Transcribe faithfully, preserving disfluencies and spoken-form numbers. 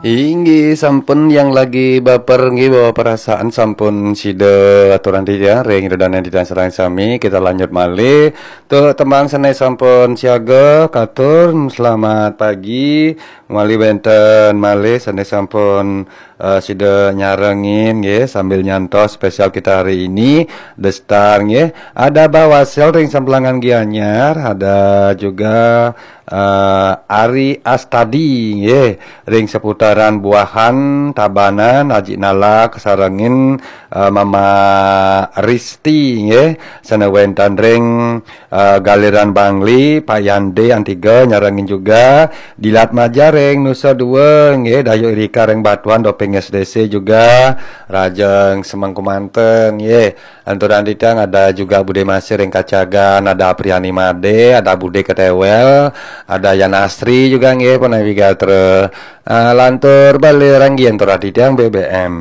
Inggih, sampun yang lagi baper nggih, bawa perasaan, sampun sida aturang titiang ring Ida Dané titiang sareng sami. Kita lanjut malih. Tuh, tembang sané sampun siaga, katur selamat pagi. Malih wénten malih sané sampun eh, sida nyarengin nggih sambil nyantos spesial kita hari ini, The Star nggih. Ada Bah Wasel ring Samplangan Gianyar, ada juga eh, Ari Astadi nggih ring seputaran Buahan, Tabanan, Haji Nala kasarengin eh, Mama Risti nggih, sané wénten ring eh, Galiran Bangli, Pak Yande Antiga nyarengin juga, Dilat Maja ring Nusa Dua nggih, Dayu Irika ring Batuan, Doping S D C juga, Rajeng Semengkumanten nggih. Anturan titiang ada juga Bude Masih ring Kacagan, ada Apriani Made, ada Bude Ketewel, ada Yan Asri juga nggih, Panawi Gatra. Ah, lantur bali ranggian anturan titiang B B M.